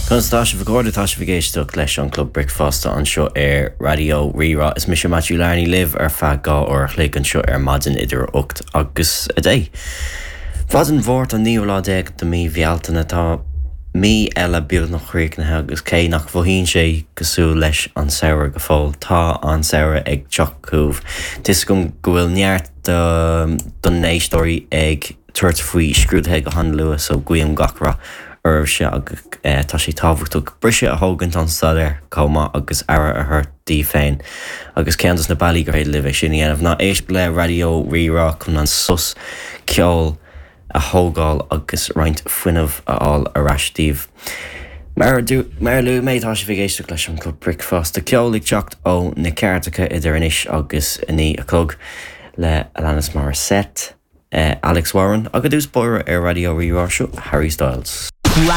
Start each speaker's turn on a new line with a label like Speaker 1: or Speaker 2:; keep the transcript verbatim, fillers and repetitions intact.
Speaker 1: Conas tá sibh a chairde tá sibh ag éisteacht leis an Club Bricfeasta anseo ar Raidió Rí-Rá is mise Matthew Larney libh ar feadh dhá uair a chloig anseo ar maidin idir ocht agus a deich. Maidin Mháirt an naoú lá déag de mí Bhealtaine tá mí eile beagnach críochnaithe agus cé nach mothaíonn sé cosúil leis an samhradh go fóill tá an samhradh ag teacht chugaibh. Tá a fhios agam go bhfuil neart don éisteoirí ag tabhairt faoi scrúduithe go han-luath so guím gach rath oraibhse agus tá sé tábhachtach briseadh a thógaint ón staidéar chomh maith agus aire a thabhairt daoibh féin agus ceann de na bealaí gur féidir libh é sin a dhéanamh ná éisteacht le Raidió Rí-Rá chun an sos ceoil a thógáil agus roinnt fuinnimh a fháil ar ais daoibh. Mar mar a luaigh mé tá sibh ag éisteacht leis an Club Bricfeasta ceol ag teacht ó na cairteacha idir anois agus a naoi a chlog le Alanis Morissette, uh, Alex Warren agus dús bóire ar Raidió Rí-Rá seo Harry Styles.
Speaker 2: Radio